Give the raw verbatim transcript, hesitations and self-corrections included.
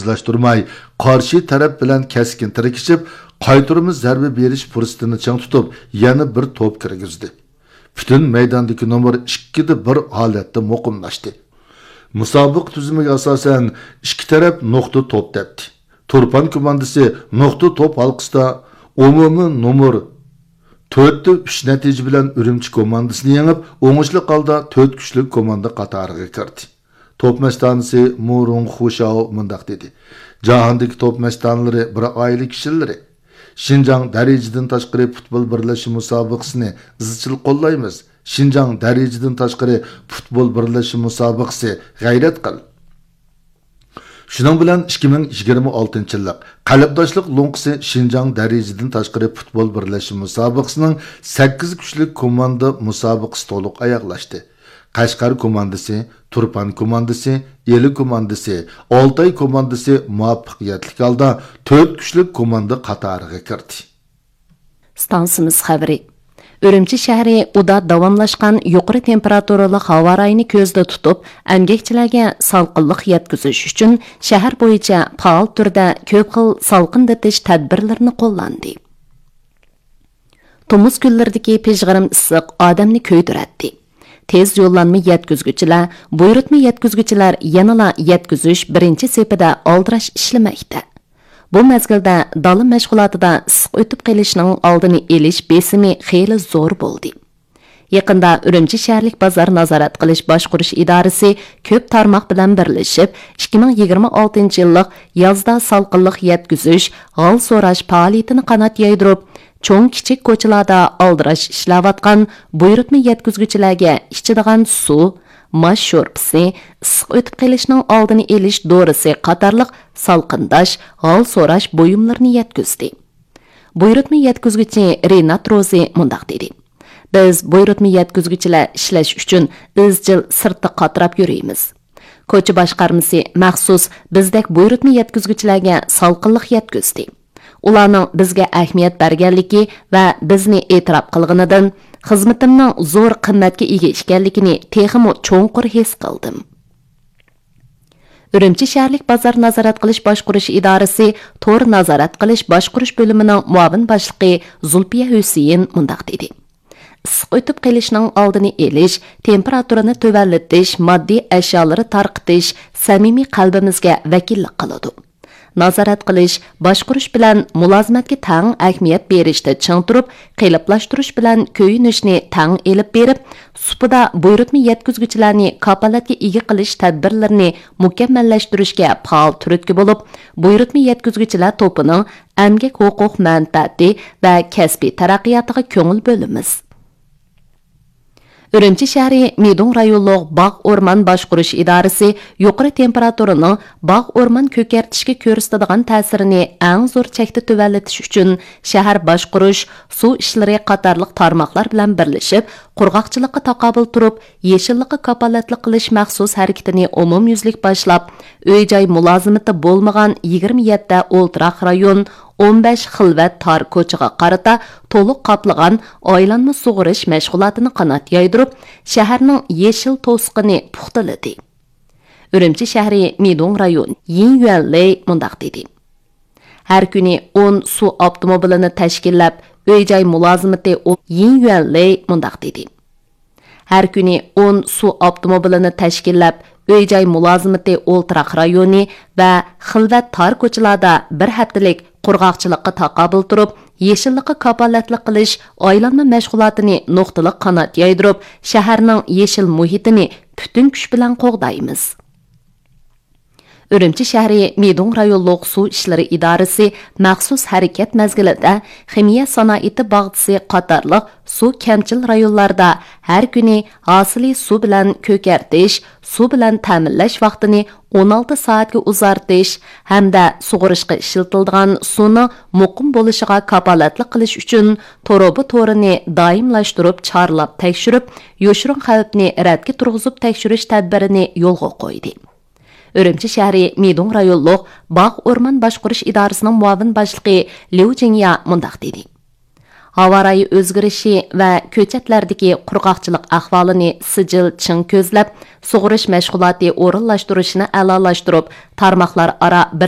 ئىزلاشتۇرماي، قارشى تەرەپ بىلەن كەسكىن تىركىشىپ، قايتۇرما زەربە بېرىش پۇرسىتىنى چىڭ تۇتۇپ، يەنە بىر توپ كىرگۈزدى. پۈتۈن مەيداندىكى نومۇر ئىككىدە بىر ھالەتتە مۇقىملاشتى. مۇسابىقە تۈزۈمىگە ئاساسەن، ئىككى تەرەپ نۇقتا توپ تەپتى. تۇرپان كوماندىسى نۇقتا توپ ھالقىسىدا ئومۇمىي نومۇر تۆتتە ئۈچ نەتىجە بىلەن ئۈرۈمچى كوماندىسىنى يېڭىپ، ئوڭۇشلۇق ھالدا تۆت كۈچلۈك كوماندا قاتارىغا كىردى. توپ مەستانىسى مۇ رۇڭ خۇشاۋ مۇنداق دېدى: جاھاندىكى توپ مەستانىلىرى بىر ئائىلە كىشىلىرى. شىنجاڭ دەرىجىدىن تاشقىرى پۇتبول بىرلەشمە مۇسابىقىسىنى ئىزچىل قوللايمىز. شىنجاڭ دەرىجىدىن تاشقىرى پۇتبول بىرلەشمە مۇسابىقىسى، غەيرەت قىل! شۇنىڭ بىلەن ئىككى مىڭ يىگىرمە ئالتىنچى يىللىق قەلبداشلىق لوڭقىسى شىنجاڭ دەرىجىدىن تاشقىرى پۇتبول بىرلەشمە مۇسابىقىسىنىڭ سەككىز كۈچلۈك كوماندا مۇسابىقىسى تولۇق ئاياغلاشتى. قەشقەر كوماندىسى، تۇرپان كوماندىسى، ئىلى كوماندىسى، ئالتاي كوماندىسى مۇۋەپپەقىيەتلىك ھالدا تۆت كۈچلۈك كوماندا قاتارىغا كىردى. ئىستانسىمىز خەۋىرى. ئۈرۈمچى شەھىرى ئۇدا داۋاملاشقان يۇقىرى تېمپېراتۇرىلىق ھاۋا رايىنى كۆزدە تۇتۇپ، ئەمگەكچىلەرگە سالقىنلىق يەتكۈزۈش ئۈچۈن شەھەر بويىچە پائال تۈردە كۆپ خىل سالقىندىتىش تەدبىرلىرىنى قوللاندى. تومۇز كۈنلىرىدىكى پىژغىرىم ئىسسىق ئادەمنى كۆيدۈرەتتى. تېز يوللانما يەتكۈزگۈچىلەر، بۇيرۇتما يەتكۈزگۈچىلەر يەنىلا يەتكۈزۈش بىرىنچى سېپىدە ئالدىراش ئىشلىمەكتە. بۇ مەزگىلدە دالا مەشغۇلاتىدا ئىسسىق ئۆتۈپ قېلىشنىڭ ئالدىنى ئېلىش بېسىمى خېلى زور بولدى. يېقىندا ئۈرۈمچى شەھەرلىك بازار نازارەت قىلىش باشقۇرۇش ئىدارىسى كۆپ تارماق بىلەن بىرلىشىپ، ئىككى مىڭ يىگىرمە ئالتىنچى يىللىق يازدا سالقىنلىق يەتكۈزۈش، ھال سوراش پائالىيىتىنى قانات يايدۇرۇپ، چوڭ كىچىك كوچىلاردا ئالدىراش ئىشلەۋاتقان بۇيرۇتما يەتكۈزگۈچىلەرگە ئىچىدىغان سۇ، ماش شورپىسى، ئىسسىق ئۆتۈپ قېلىشنىڭ ئالدىنى ئېلىش دورىسى قاتارلىق سالقىنداش، ھال سوراش بۇيۇملىرىنى يەتكۈزدى. بۇيرۇتما يەتكۈزگۈچى رىنات روزى مۇنداق دېدى: بىز بۇيرۇتما يەتكۈزگۈچىلەر ئىشلەش ئۈچۈن ئىزچىل سىرتتا قاتراپ يۈرىمىز. كوچا باشقارمىسى مەخسۇس بىزدەك بۇيرۇتما يەتكۈزگۈچىلەرگە سالقىنلىق يەتكۈزدى. ئۇلارنىڭ بىزگە ئەھمىيەت بەرگەنلىكى ۋە بىزنى ئېتىراپ قىلغىنىدىن خىزمىتىمنىڭ زور قىممەتكە ئىگە ئىكەنلىكىنى تېخىمۇ چوڭقۇر ھېس قىلدىم. ئۈرۈمچى شەھەرلىك بازار نازارەت قىلىش باشقۇرۇش ئىدارىسى تور نازارەت قىلىش باشقۇرۇش بۆلۈمىنىڭ مۇئاۋىن باشلىقى زۇلپىيە ھۈسېيىن مۇنداق دېدى: ئىسسىق ئۆتۈپ قېلىشنىڭ ئالدىنى ئېلىش، تېمپېراتۇرىنى تۆۋەنلىتىش، ماددىي ئەشيالىرى تارقىتىش سەمىمىي قەلبىمىزگە ۋەكىللىك قىلىدۇ. نازارەت قىلىش، باشقۇرۇش بىلەن مۇلازىمەتكە تەڭ ئەھمىيەت بېرىشتە چىڭ تۇرۇپ، قېلىپلاشتۇرۇش بىلەن كۆيۈنۈشنى تەڭ ئېلىپ بېرىپ، سۇپىدا بۇيرۇتما يەتكۈزگۈچىلەرنى كاپالەتكە ئىگە قىلىش تەدبىرلىرىنى مۇكەممەللەشتۈرۈشكە پائال تۈرتكە بولۇپ، بۇيرۇتما يەتكۈزگۈچىلەر توپىنىڭ ئەمگەك ھوقۇق مەنپەئەتى ۋە كەسپىي تەرەققىياتىغا كۆڭۈل بۆلىمىز. ئۈرۈمچى شەھىرى مىدۇڭ رايونلۇق باغ ئورمان باشقۇرۇش ئىدارىسى يۇقىرى تېمپېراتۇرىنىڭ باغ ئورمان كۆكەرتىشكە كۆرسىتىدىغان تەسىرىنى ئەڭ زور چەكتە تۆۋەنلىتىش ئۈچۈن شەھەر باشقۇرۇش، سۇ ئىشلىرى قاتارلىق تارماقلار بىلەن بىرلىشىپ، قۇرغاقچىلىققا تاقابىل تۇرۇپ، يېشىللىققا كاپالەتلىك قىلىش مەخسۇس ھەرىكىتىنى ئومۇميۈزلۈك باشلاپ، ئۆي-جاي مۇلازىمىتى بولمىغان يىگىرمە يەتتە ئولتۇراق رايون، ئون بەش خىلۋەت تار كوچىغا قارىتا تولۇق قاپلىغان ئايلانما سۇغىرىش مەشغۇلاتىنى قانات يايدۇرۇپ، شەھەرنىڭ يېشىل توسۇقىنى پۇختىلىدى. ئۈرۈمچى شەھىرى مىدۇڭ رايون يىن يۈەنلېي مۇنداق دېدى: ھەر كۈنى ئون سۇ ئاپتوموبىلىنى تەشكىللەپ، ئۆي-جاي مۇلازىمىتى ئو-، يىن يۈەنلېي مۇنداق دېدى: ھەر كۈنى ئون سۇ ئاپتوموبىلىنى تەشكىللەپ، ئۆي-جاي مۇلازىمىتى ئولتۇراق رايونى ۋە خىلۋەت تار كوچىلاردا بىر ھەپتىلىك قۇرغاقچىلىققا تاقابىل تۇرۇپ، يېشىللىققا كاپالەتلىك قىلىش ئايلانما مەشغۇلاتىنى نۇقتىلىق قانات يايدۇرۇپ، شەھەرنىڭ يېشىل مۇھىتىنى پۈتۈن كۈچ بىلەن قوغدايمىز. ئۈرۈمچى شەھىرى مىدۇڭ رايونلۇق سۇ ئىشلىرى ئىدارىسى مەخسۇس ھەرىكەت مەزگىلىدە خىمىيە سانائىتى باغچىسى قاتارلىق سۇ كەمچىل رايونلاردا ھەر كۈنى ھاسىلى سۇ بىلەن كۆكەرتىش، سۇ بىلەن تەمىنلەش ۋاقتىنى ئون ئالتە سائەتكە ئۇزارتىش ھەمدە سۇغىرىشقا ئىشلىتىلىدىغان سۇنىڭ مۇقىم بولۇشىغا كاپالەتلىك قىلىش ئۈچۈن تۇرۇبا تورىنى دائىملاشتۇرۇپ چارلاپ تەكشۈرۈپ، يوشۇرۇن خەۋپنى رەتكە تۇرغۇزۇپ تەكشۈرۈش تەدبىرىنى يولغا قويدى. ئۈرۈمچى شەھىرى مىدۇڭ رايونلۇق باغ ئورمان باشقۇرۇش ئىدارىسىنىڭ مۇئاۋىن باشلىقى ليۇ جىڭيا مۇنداق دېدى: ھاۋا رايى ئۆزگىرىشى ۋە كۆچەتلەردىكى قۇرغاقچىلىق ئەھۋالىنى سىجىل چىڭ كۆزلەپ، سۇغىرىش مەشغۇلاتى ئورۇنلاشتۇرۇشنى ئەلالاشتۇرۇپ، تارماقلار ئارا بىر